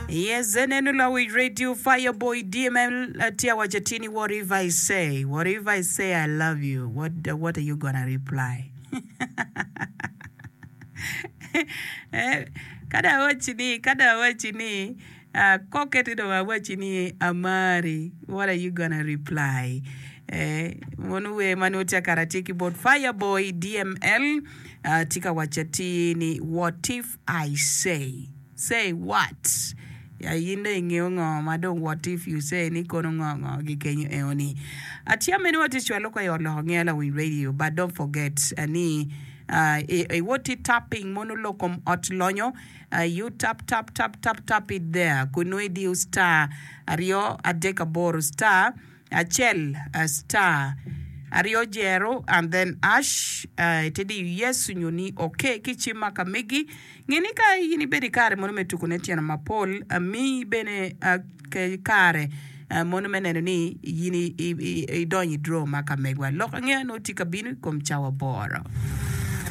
Yes, eneno lawic radio Fireboy DML tye awaco atir ni what if I say, what if I say I love you, what, what are you gonna reply? Eh, ka dong awacci ni, ka dong awacci ni, ah, kokke ti dong awacci ni amari, what are you gonna reply? Eh, mono wer ma nongo tye akara tye ki bot Fireboy DML, ah, tye ka waco atir ni what if I say, say what? Ya in dong ingeyo ngo ma dong what if you say ni kono ngo ngo gi kenyo eo ni. Atya meno watye cwalo ka i ot loko ngeya lawiny radio but don't forget ni iwot i tapping mono lok kom ot lonyo you tap tap tap tap tap it there kun nongo idiyo star aryo adek aboro star acel star aryo jero and then ash ite diyo yes onyo ni ok ki cim ma ka megi. Nge ni ka in ibedo i kare mono me tuko ne tyeno mapol, miyi bene kare mono me neno ni in idonyo i draw ma ka megwa. Lok angeya nongo tye ka bino i kom cawa boro.